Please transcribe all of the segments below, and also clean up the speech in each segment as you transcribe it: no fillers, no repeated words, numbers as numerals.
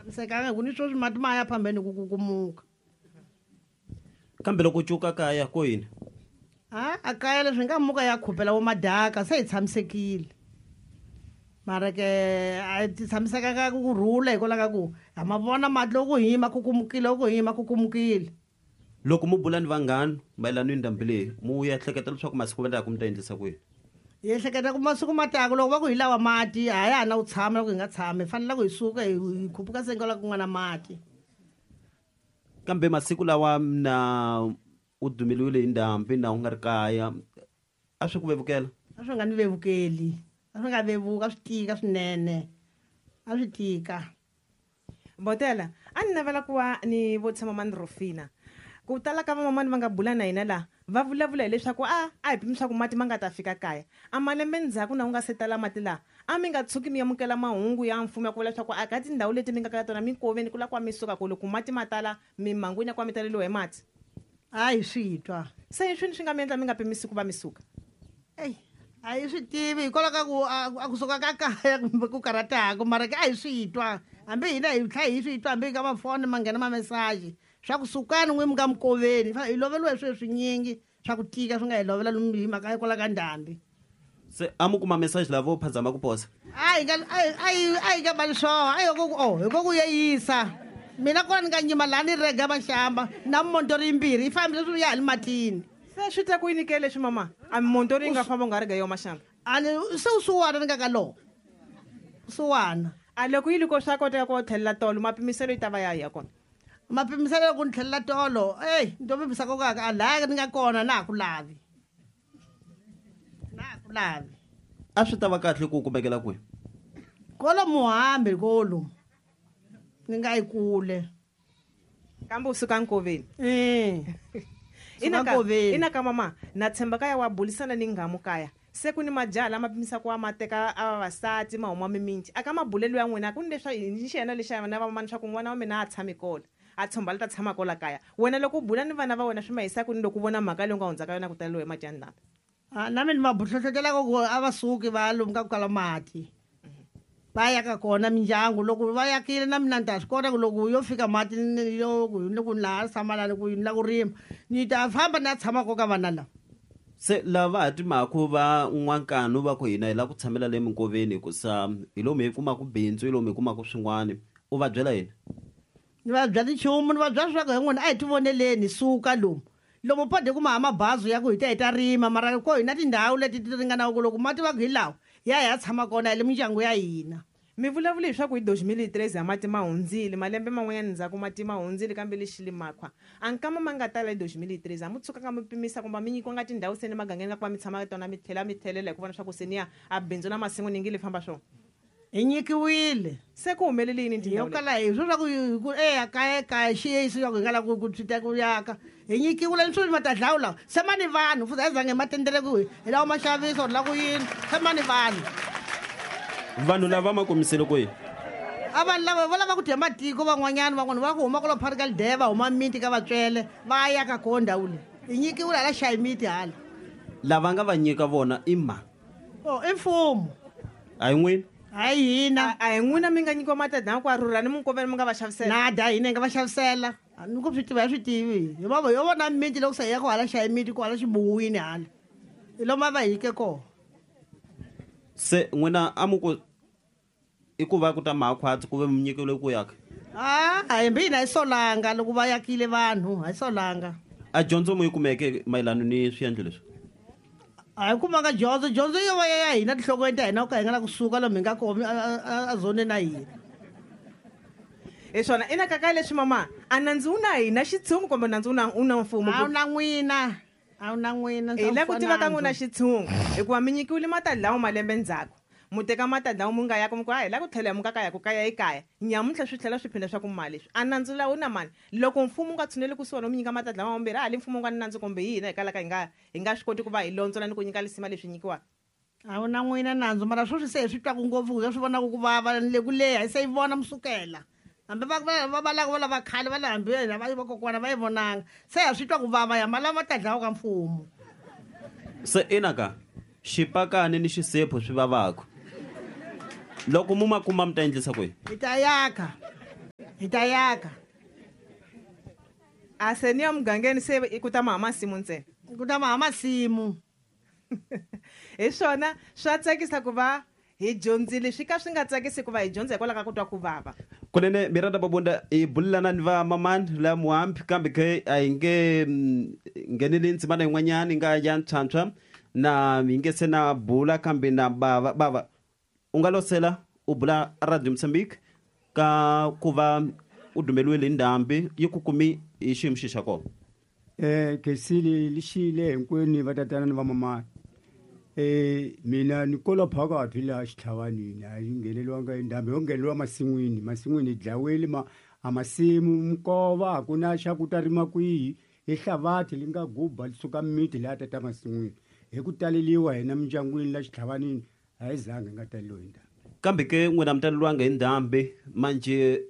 Tshamisekanga hi ku ni sweswi mati ma ya phambeni ku kukumuka. Kambe loko cuka kaya ko yini? A a kaya leswi nga muka ya khupela wo madaka se hi tshamisekile. Mara ke a ti tshamisekanga ku rhula hikwalaho ka ku ha ma vona mati loko hi ma kukumukile loko hi ma kukumukile. Loko mu bula ni vanghana mayelana ni ndhambi leyi, mu ehleketa leswaku masiku ma taka mi ta endlisa ku yini? Hi ehleketa ku masiku ma taka loko va ku hi lawa mati a ya ha na ku tshama loko hi nga tshami hi fanele ku hi suka hi hi khupuka se la ku nga na mati. Kambe masiku lawa na u dumeliwile hi ndhambi na u nga ri kaya a swi ku vevukela? A swi nga ni vevukeli, a swi nga vevuki a swi tika swinene, a swi tika. Botela, a ni navela ku va ni vutisa mamani Rufina. Ku tala ka vamamani va nga bula na hina laha, va vulavula hileswaku a a hi pimi swa ku mati ma nga ta fika kaya. A malembe ndzhaku na ku nga se tala mati laha, a mi nga tshuki mi amukela mahungu ya mfumo ya ku vula leswaku a ka tindhawu leti mi nga ka tona minkoveni ku la ku va mi suka ku loko mati ma tala mimangwini ya ku va mi taleliwa hi mati. A hi swi twa. Se i swini swi nga mi endla mi nga pimisi ku va mi suka? Eyi a hi swi tivi hikwalaho ka ku a ku suka ka kaya kumbe ku karhataka mara ke a hi swi twa hambi hina hi tlha hi swi twa hambi ka mafoni ma nghena mamesaji swa ku sukani n'wi mi nga mikoveni hi loveliwa hi swilo swinyingi swa ku tika swi nga hi lovela lomu hi mhaka hikwalaho ka ndhambi. Se a mu kuma message lavo phazama ku posa? A hi nga a hi a hi nga bali swoho a hi ku o hi ko ku yeyisa mina kona ni nga nyima laha ni rega maxamba na montori yimbirhi yi fambile swi ya hali matini. Se swi ta ku yini ke leswi mama a montori yi nga famba u nga rega yo maxamba? A ni se u suwana ni nga ka lowo suwana. A loko yi loko swa koteka ku tlhelela tolo mapimiselo yi ta va ya ya kona? Mapimiselo ku ni tlhelela tolo eyi ni to pimisa ko ka a laya ni nga kona na ha ku lavi. Na ha ku lavi. A swi ta va kahle ku kumekela kwihi? Kolo muhambi kolo ni nga yi kule. Kambe u suka nkoveni. Eh. Ina ka ina ka mama na tshemba kaya wa bulisana ni nghamu kaya. Se ku ni majaha lama pimisaka wa ma teka a vavasati ma huma mimiti. Aka mabulelo ya n'wina ku ni leswa ni xiyena lexa na vamamani swa ku n'wana wa mina a tshami kona. A tshomba la ta tshama kola kaya. Wena loko u bula ni vana va wena swi ma yisa kwini loko u vona mhaka leyi u nga hundza ka yona ku taleriwa hi mati ya ndhambi? A na mina ni va hlohlotelaka ku a va suki va ya lomu ka ku kala mati va ya ka kona mindyangu loko va yakile na mina ni ta swi kota ku loko yo fika mati yo ku ni ku laha tshama lani ku ni la ku rima ni ta famba ni ya tshama ko ka vana lava. Se lava ha timaku va n'wankanu va ku hina hi lava ku tshamela le minkoveni hikusa hi lomu hi kumaka bindzu hi lomu hi kumaka swin'wana u va byela yini? Ni va byela nchumu ni va byela leswaku hi n'wina a hi tivoneleni hi suka lomu lomu pode ku ma ha mabazi ya ku hi ta hi ta rima mara ko hi na tindhawu leti ti ringanaka ku loko mati va ku hi lawa ya hi ya tshama kona hi le mindyangu ya hina. Mi vulavule hi swa ku hi 2013 a mati ma hundzile, malembe man'wanyana ndzhaku mati ma hundzile kambe lexi limakhwa a nkama ma nga tala hi 2013 a mu tshukanga mi pimisa kumbe a mi nyikiwanga tindhawu se ni magangeni la ku va mi tshama ka tona mi tlhela mi tlhelela hi ku vona swa ku se ni ya a bindzu la masimu ni ngi li famba swona. Hi nyikiwile. Se ku humelele yini hi kala hi swo swa ku ku eya kaya kaya xi swa ku hi nga lava ku swi ta ku yaka hi nyikiwile ni swilo ma ta dlawu lawa se ma ni vanhu futhi a hi zange hi ma tendele ku hi lava ma xavisa or la ku yini se ma ni vanhu. Vanhu lava ma kumisile ku yini? A vanhu lava va lava ku dya matiko van'wanyana van'wana va ku huma kwala phari ka lideva va huma miti ka vatswele va ya ka koho ndhawu leyi hi nyikiwile hala xayi miti hala. Lava nga va nyika vona i mani? O i mfumo. A hi n'wina? Hayi hina. A hi n'wina mi nga nyikiwa matadha ku a rhurha ni minkoveni mi nga va xavisela? Nada hina hi nga va xavisela. Ni ku swi tiva hi swi tivi. Hi va yo vona miti loko se hi ya ku hala xayi miti ku hala xibuwini hala. Hi lomu a va hi nyike kona. Se n'wina a mu ku i ku va ku ta makhwatsi ku ve mi nyikiwile ku yaka? A a himbi hina hi solanga loko va yakile vanhu a hi solanga. A dyondzo mu yi kumeke mayelana ni swiendlo leswi? A hi kumanga dyondzo dyondzo yo va ya hina tinhlokweni ta hina ku ka hi nga la kusuka lomu hi nga kona a zoneni na hina. Hi swona ina kaka leswi mama a nandzu wu na hina xitshungu kumbe nandzu wu na wu na mfumo? A wu na n'wina a wu na n'wina. Hi la ku tiva ka n'wina xitshungu hikuva mi nyikiwile matadlawu malembe ndzhaku mu teka matadlawu mu nga yaka mu ku a hi la ku tlhela mu ka kaya ku kaya i kaya nyamuntlha swi tlhela swi phinda swa ku mali leswi a nandzu lawa wu na mani loko mfumo wu nga tshuneli kusuhani wu mi nyika matadlawu mambirhi a hali mfumo wu nga ni nandzu kumbe hi hina hi kalaka hi nga hi nga swi koti ku va hi londzola ni ku nyika lisima leswi nyikiwaka. A wu na n'wina nandzu mara sweswi se hi swi twaku ngopfu hi swi vonaka ku vava ni le ku leha se yi vona musukela hambi va va va va lava va lava khale va le hambi hina va vakokwana va yi vonanga se ha swi twa ku vava ya malava ta dlawa ka mfumo. Se ina ka xipakani ni xisephu swi vavaka loko mu ma kuma mi ta endlisa ku yini? Hi ta yaka. Hi ta yaka. A se ni ya mugangeni se i ku ta maha masimu ntsena. Ku ta maha masimu. Hi swona swa tsakisa ku va hi dyondzile swi ka swi nga tsakisi ku va hi dyondza hikwalaho ka ku twa ku vava. Kunene Miranda Mabunda hi bulelana ni va mamani la Muhambi kambe ke a hi nge ngheneli ndzimana yin'wanyana yi nga ya ntshwantshwa na hi nge se na bula kambe na bava bava u nga losela u bula Radio Mozambique ka ku va u dumeliwile hi ndhambi yi ku kumi hi xiyimo xi xa kona. Khensile lixile hinkwenu va tatana ni va mamani. Mina ni kola phakathi laha xitlhavanini a yi ngheneliwanga hi ndhambi yo ngheneliwa masin'wini masin'wini hi dlaweli ma a masimu minkova a ku na xa ku ta rima kwihi hi hlavathi li nga guba li suka miti leya tata masin'wini hi ku taleliwa hina mindyangwini la xitlhavanini a hi zanga hi nga taleliwi hi ndhambi. Kambe ke n'wina mi taleliwanga hi ndhambi manje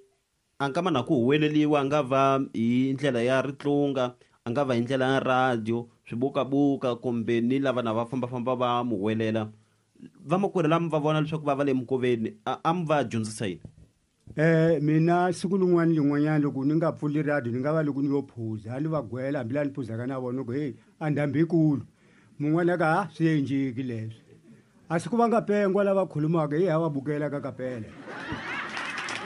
a nga ma na ku huweleliwa a nga va hi ndlela ya ritlunga a nga va hi ndlela ya radio swibukabuka kumbe ni lava na va fambafamba va mu huwelela vamakwerhu lama va vona leswaku va va le minkoveni a mi va dyondzisa yini? Mina siku lin'wana lin'wanyana loko ni nga pfuli radio ni nga va loko ni yo phuza a ni va gwela hambi laha ni phuzaka na vona ku heyi a ndhambi yikulu mun'wana ka ha swi endleki leswi a siku va nga pengwa lava khulumaka hi ha va bukela ka kapela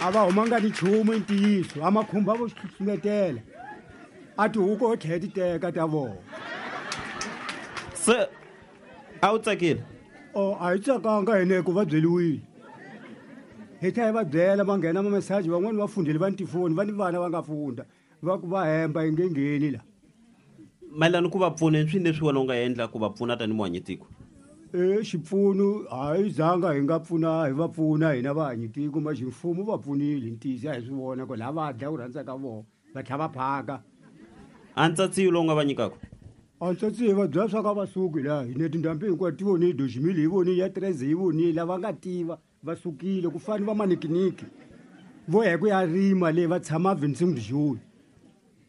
a va humanga ni nchumu i ntiyiso a makhumba vo xihluhlumetela a tihuku ho tlhela ti teka ta vona. Se a wu tsakile? O a hi tsakanga hina hikuva va byeliwile hi tlhela hi va byela va nghena mamesaji van'wani va fundhile va ni tifoni va ni vana va nga funda va ku va hemba yi nge ngheni la. Mayelana ku va pfuna i swini leswi wena u nga endla ku va pfuna tanihi muhanyitiko? Xipfuno a hi zanga hi nga pfuna hi va pfuna hina vahanyitiko ma ximfumo va pfunile ntiyiso a hi swi vona ku laha va dya ku rhandza ka vona va tlhela va phaka. A ntsatsiyo lowu nga va nyikaka? A ntsatsiyo va byela swa ka va suki laha hina tindhambi hinkwato ti vonile doximili hi vonile ya treze hi vonile lava nga tiva va sukile ku fana va manikiniki vo ya ku ya rima le va tshama Vincent Joni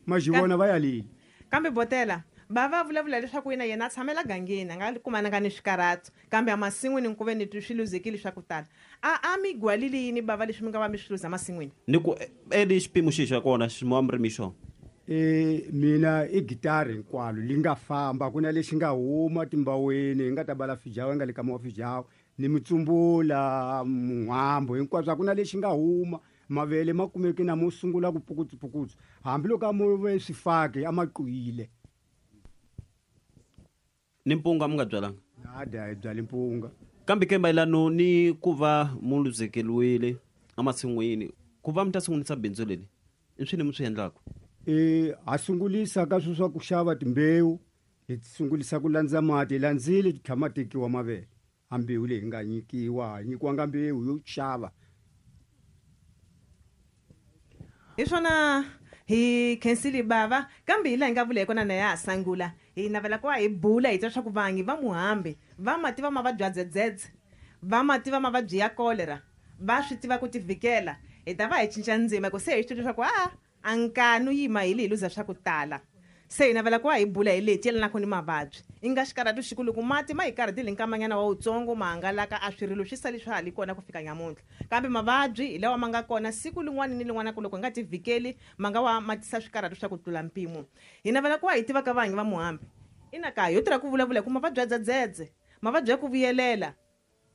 ma xi vona va ya lile. Kambe botela va va vulavula leswaku yena yena a tshamela gangeni a nga kumananga ni swikarhato kambe emasin'wini ku ve ni swi luzekile swa ku tala a mi gwalile yini bava leswi mi nga va mi swi luza emasin'wini? Ni ku eli xipimo xi xa kona xi wa murimi xona. Mina i gitari hinkwalo li nga famba ku na lexi nga huma timbaweni hi nga ta bala fijawa nga le ka mawa fijawa ni mitsumbula muhambo hinkwaswo a ku na lexi nga huma mavele ma kumeke na mo sungula ku pukutsupukutsu hambiloko a mo ve swifaki a ma qwile. Ni mpunga mi nga byalanga? Nada hi byali mpunga. Kambe ke mayelano ni ku va mu luzekeliwile emasin'wini ku va mi ta sungulisa bindzu leri i swini mi swi endlaka? Ha sungulisa ka swi swa ku xava timbewu hi sungulisa ku landza mati hi landzile ti tlhama tekiwa mavele a mbewu leyi nga nyikiwa ha nyikiwanga mbewu yo xava. Hi swona hi khensile bava kambe hi laha hi nga vula hi kona na ya ha sangula hi navela ku va hi bula hi twa leswaku vangi va Muhambi va ma tiva mavabyi ya dzedzedze va ma tiva mavabyi ya cholera va swi tiva ku tivikela hi ta va hi cinca ndzima hi ku se hi swi twa leswaku a nkanu yima hi leyi luza swa ku tala se hi navela ku va hi bula hi leti yelanaka ni mavabyi i nga xikarhatu xiku loko mati ma hi karhatile nkamanyana wa wutsongo ma hangalaka a swirilo swi sali swa ha li kona ku fika nyamuntlha kambe mavabyi hi lawa ma nga kona siku lin'wana ni lin'wana ku loko hi nga tivhikeli ma nga wa ma tisa swikarhatu swa ku tlula mpimo hi navela ku va hi tiva ka vanhu va Muhambi ina ka yo tirha ku vulavula hi ku mavabyi ya dzedzedze mavabyi ya ku vuyelela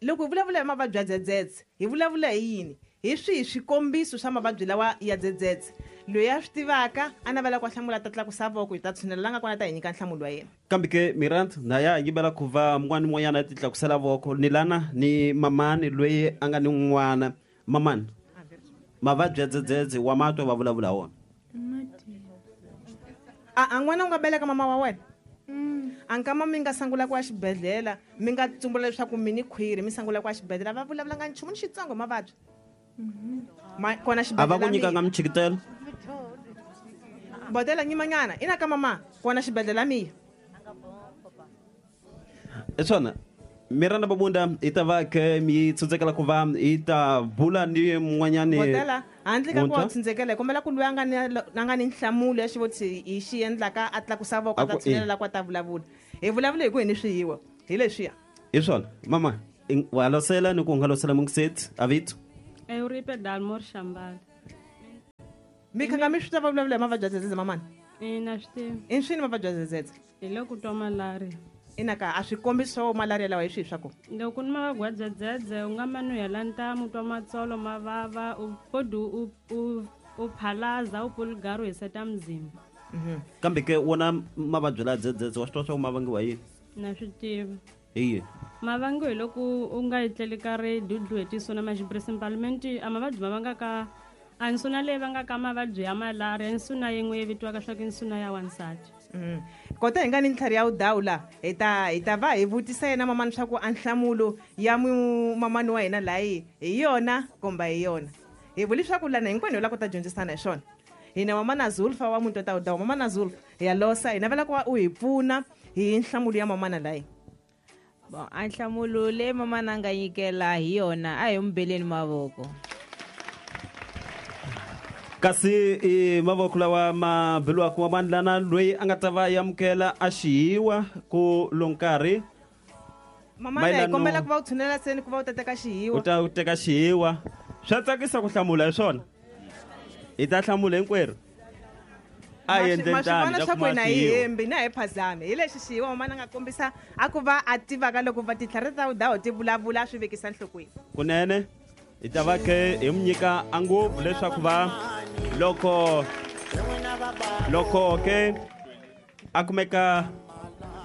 loko hi vulavula hi mavabyi ya dzedzedze hi vulavula hi yini hi swihi swikombiso swa mavabyi lawa ya dzedzedze loyi a swi tivaka a navela ku hlamula ta tlakusa voko hi ta tshunela la nga kona ta hi nyika nhlamulo wa yena. Kambe ke Miranda na ya yimela ku va mun'wana n'wanyana a ti tlakusela voko ni lana ni mamani loyi a nga ni n'wana mamani mavabyi ya dzedzedze wa matwa va vulavula wona. A n'wana u nga beleka mama wa wena a nkama mi nga sungula ku ya xibedhlele mi nga tsumbula leswaku mi ni khwiri mi sungula ku ya xibedhlele va vulavulanga nchumu ni xitsongo mavabyi ma kona a va ku nyikanga michikitelo botela nyimanyana ina ka mama kona xibedhlele miya. Hi swona Miranda Mabunda hi ta va khe mi tshundzekela ku va hi ta bula ni mun'wanyani botela handle ka ku wa tshundzekela hi kombela ku loyi a nga ni a nga ni nhlamulo ya xivutiso hi xi endlaka a tlakusa voko a ta tshinela la ku a ta vulavula hi vulavula hi ku hi ni swiyiwa hi leswiya. Hi swona mama wa losela ni ku nga losela mungiseti avito Euripe Dalmor Shambala. Mi khanga mi swi twa va vulavula hi mavabyi ya dzedzedze mamani? Ina, swi tiva. I swini mavabyi ya dzedzedze? Hi loko twa malaria. Ina ka, a swikombiso swa malaria lawa hi swihi swa kona? Loko ni mavabyi ya dzedzedze, u nga mani u hela ntamu, u twa matsolo ma vava, u kodi u phalaza, u pulugara, u hiseta muzimba. Kambe ke wona mavabyi la dzedzedze wa swi tiva swa ku ma vangiwa yini? Na swi tiva. Hi yini? Ma vangiwa hi loko u nga etleli ka ri dudlu hi tisuna ma xiprincipalment, a mavabyi ma vangaka a nsuna leyi vangaka mavabyi ya malaria, i nsuna yin'we yi vitiwaka swa ku i nsuna ya wansati. Kota hi nga ni ntlhari ya wudawu la, hi ta va hi vutisa yena mamani swa ku a nhlamulo ya mamani wa hina layi hi yona kumbe hi yona. Hi vuli swa ku lana hinkwenu hi lava ku ta dyondzisana hi swona. Hina mamana Zulfa wa muti wa Tawudawu, mamana Zulfa hi ya losa, hi navela ku va u hi pfuna hi nhlamulo ya mamana layi. Bon, a nhlamulo leyi mamana a nga nyikela hi yona, a hi n'wi beleni mavoko. Kasi i mavoko lawa ma beliwaka mamani lana, loyi a nga ta va amukela a xihiwa ku lo nkarhi. Mamana, hi Mayelano- kombela ku va u tshunela seni ku va u ta teka xihiwa. U ta teka xihiwa. Swa tsakisa ku hlamula hi swona, hi ta hlamula hinkwerhu, a hi endleni Ma swi tani vona hi ta swa ku kuma hina hi xihiwa. hembi na hi phazami hi lexi xihiwa mamana a nga kombisa a ku va a tivaka loko va tintlhari ta wudawu ti vulavula, a swi vekisa nhlokweni. Kunene hi ta va khe hi mu nyika a ngopfu leswaku va loko ke a kumeka.